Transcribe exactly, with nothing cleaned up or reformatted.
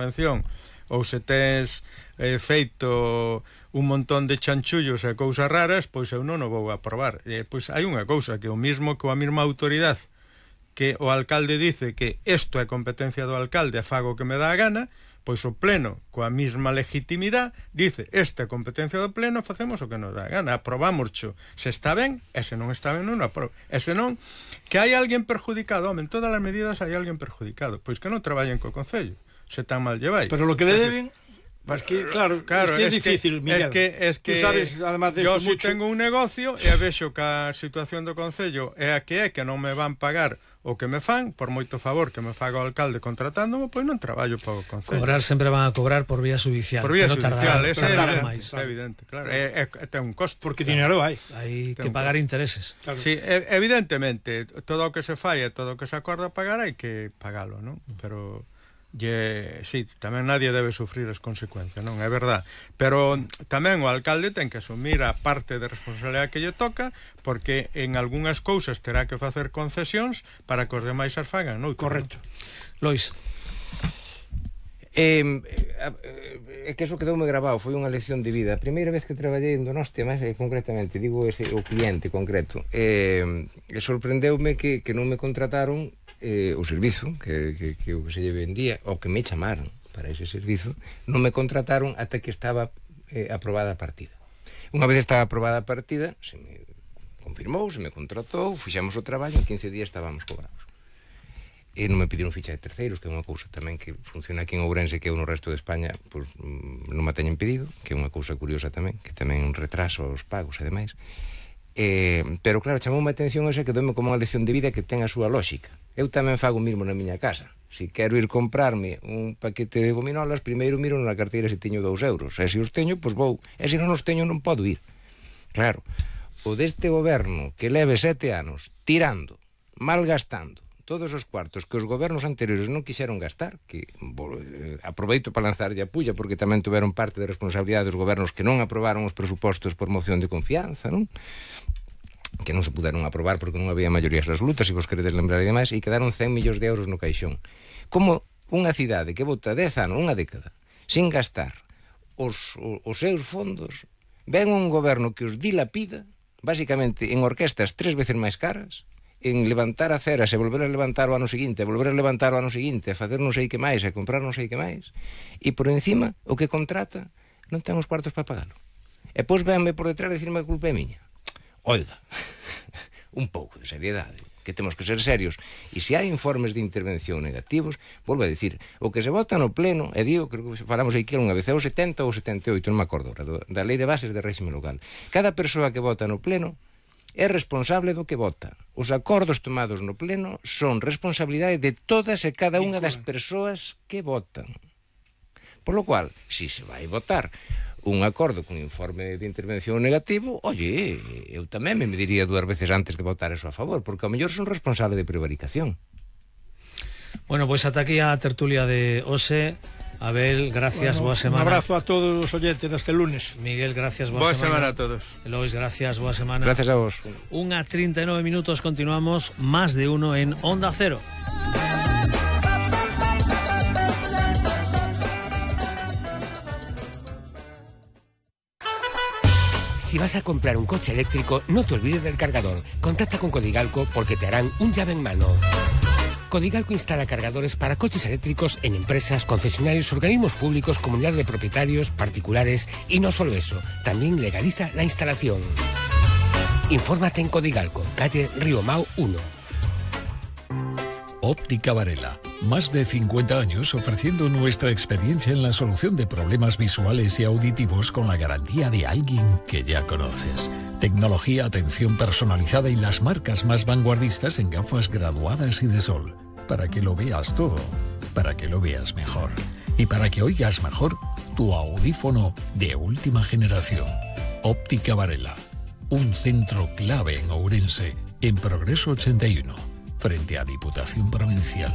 intervención ou se tes eh, feito un montón de chanchullos e cousas raras, pois eu non o vou aprobar. E, pois hai unha cousa, que o mismo que a mesma autoridade que o alcalde dice que isto é competencia do alcalde e fago o que me dá a gana, pois o pleno, coa mesma legitimidade, dice, esta é competencia do pleno, facemos o que nos dá a gana, aprobámoscho, se está ben, e se non está ben non o aprobo, e se non, que hai alguén perjudicado, home, en todas as medidas hai alguén perjudicado, pois que non traballen co Concello, se tan mal lleváis. Pero lo que le deben... Pues que, claro, claro, es que es, es difícil, que, Miguel. Es que, es que tú sabes, además de yo eso, si mucho... tengo un negocio e vexo que a situación do Concello é a que é, que non me van pagar o que me fan, por moito favor que me faga o alcalde contratándome, pois non traballo para o Concello. Cobrar sempre van a cobrar por vía judicial. Por vía judicial, é evidente, é evidente, claro. É, é, é, ten un costo. Porque dinero hai. Hai que pagar intereses. Claro. Sí, evidentemente, todo o que se fai e todo o que se acorda pagar hai que pagalo, non? Pero... Lle, sí, tamén nadie debe sufrir as consecuencias, non? É verdad, pero tamén o alcalde ten que asumir a parte de responsabilidade que lle toca, porque en algunhas cousas terá que facer concesións para que os demais as fagan, non? Correcto. Lois. É eh, eh, que eso quedoume grabado, foi unha lección de vida. A primeira vez que traballei en Donostia, máis eh, concretamente, digo ese, o cliente concreto, eh, sorprendeume que, que non me contrataron eh, o servizo que, que, que o que se lle vendía, o que me chamaron para ese servizo, non me contrataron ata que estaba eh, aprobada a partida. Unha vez estaba aprobada a partida, se me confirmou, se me contratou, fixemos o traballo, en quince días estábamos cobrados. E non me pediron ficha de terceiros, que é unha cousa tamén que funciona aquí en Ourense, que eu no resto de España pues, non me teñen pedido, que é unha cousa curiosa tamén, que tamén un retraso aos pagos e demais. Eh, pero claro, chamou a atención esa que doume como unha lección de vida que ten a súa lógica. Eu tamén fago o mismo na miña casa. Se quero ir comprarme un paquete de gominolas, primeiro miro na carteira se teño dous euros, e se os teño, pois vou, e se non os teño non podo ir. Claro, o deste goberno que leve sete anos tirando, malgastando todos os cuartos que os gobernos anteriores non quixeron gastar, que eh, aproveito para lanzarlle a pulla, porque tamén tuveron parte de responsabilidade dos gobernos que non aprobaron os presupostos por moción de confianza, non? Que non se puderon aprobar porque non había maiorías absolutas, se vos queredes lembrar e demais, e quedaron cen millóns de euros no caixón. Como unha cidade que bota dez anos, unha década, sin gastar os, os, os seus fondos, ven un goberno que os dilapida, basicamente en orquestas tres veces máis caras, en levantar a ceras e volver a levantar o ano seguinte, volver a levantar o ano seguinte, a facer non sei que máis, a comprar non sei que máis, e por encima o que contrata non ten os cuartos para pagalo. E pois venme por detrás decirme que a culpa é miña. Oiga, un pouco de seriedade, que temos que ser serios, e se hai informes de intervención negativos, volvo a dicir, o que se vota no pleno, e digo, creo que falamos aí que unha vez, é o setenta ou setenta e oito, non me acordo, da Lei de Bases de Réxime Local. Cada persoa que vota no pleno é responsable do que vota. Os acordos tomados no pleno son responsabilidade de todas e cada unha das persoas que votan. Por lo cual, se se vai votar un acordo con informe de intervención negativo, oye, eu tamén me mediría dúas veces antes de votar eso a favor, porque ao mellor son responsable de prevaricación. Bueno, pois pues ata aquí a tertulia de hoxe. Abel, gracias, bueno, boa semana. Un abrazo a todos os oyentes deste lunes. Miguel, gracias, boa, boa semana. semana Boa semana a todos. Lois, gracias, boa semana. Gracias a vos. Unha treinta e nove minutos, continuamos, más de uno en Onda Cero. Si vas a comprar un coche eléctrico, no te olvides del cargador. Contacta con Codigalco porque te harán un llave en mano. Codigalco instala cargadores para coches eléctricos en empresas, concesionarios, organismos públicos, comunidades de propietarios, particulares y no solo eso, también legaliza la instalación. Infórmate en Codigalco, calle Río Mau uno. Óptica Varela. Más de cincuenta años ofreciendo nuestra experiencia en la solución de problemas visuales y auditivos con la garantía de alguien que ya conoces. Tecnología, atención personalizada y las marcas más vanguardistas en gafas graduadas y de sol. Para que lo veas todo, para que lo veas mejor. Y para que oigas mejor tu audífono de última generación. Óptica Varela. Un centro clave en Ourense, en Progreso ochenta y uno. Frente a Diputación Provincial.